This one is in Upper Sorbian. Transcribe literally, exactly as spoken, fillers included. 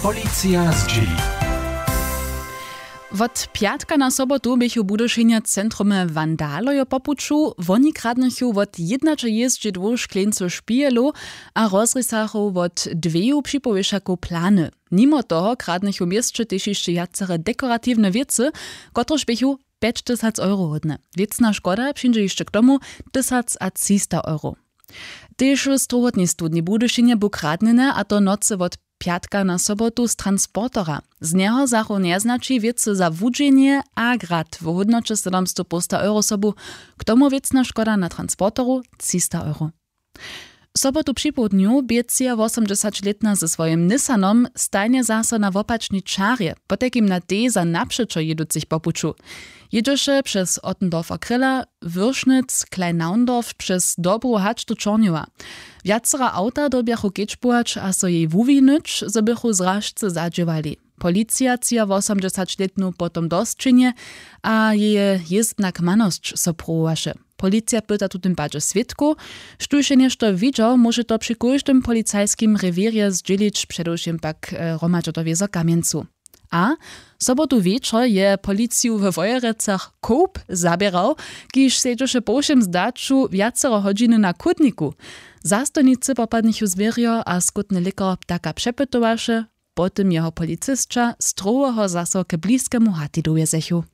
Policija zdźěli. Wot pjatka na sobotu běchu w Budyšinje w centrumje wandalojo po puću. Woni kradnychu wot jědnaćelězdźe dwóch škleńcow špihelow a rozrisachu wot dweju připowěšakow plany. Nimo toho kradnychu w měsće tež hišće wjacere dekoratiwne wěcy, kotrež běchu pjećtysac euro hódne. Wěcna škoda přińdźe hišće k tomu tysac a třista euro. Tež w strowotnej studni w Budyšinje bu kradnjene, a to w nocy wot pjatka na sobotu z transportera. Z njeho zachu njeznaći wěcy za wudźenje a grad w hódnoće sydomstow połsta euro sobu. K tomu wěcna škoda na transporteru třista euro. Sobotu připołdnju bě třiawosomdźesaćlětna ze swojim Nissanom stajnje zaso na wopačnej čarje, potajkim na tej za napřećo jěducych po puću. Jědźeše přez Ottendorfer Kryla, Würschnitz, Kleinnaundorf, přez Dobru hač do Čornjowa. Wjacera awta dyrbjachu kedźbować a so jej wuwinyć, zo bychu zražce zadźěłali. Policija třiawosomdźesaćlětnu potom do sćenje a jeje jězbna kmanosć so pruwowaše. Policija pyta w tutym padźe swědkow, štóž je něšto widźał, móže to při kóždym policajskim rewěrje zdźělić, předewšěm pak hromadźe do wězo kamjencu. A sobotu wječor je policiju we Wojerecach kowp zaběrał, kiž sedźeše po wšěm zdaću wjacero hodźiny na chódniku. Zastojnicy popadnychu zwěrjo a skótny lěkar ptaka přepytowaše. Po tym jeho policisća strowoho zaso k bliskemu hati dowjezechu.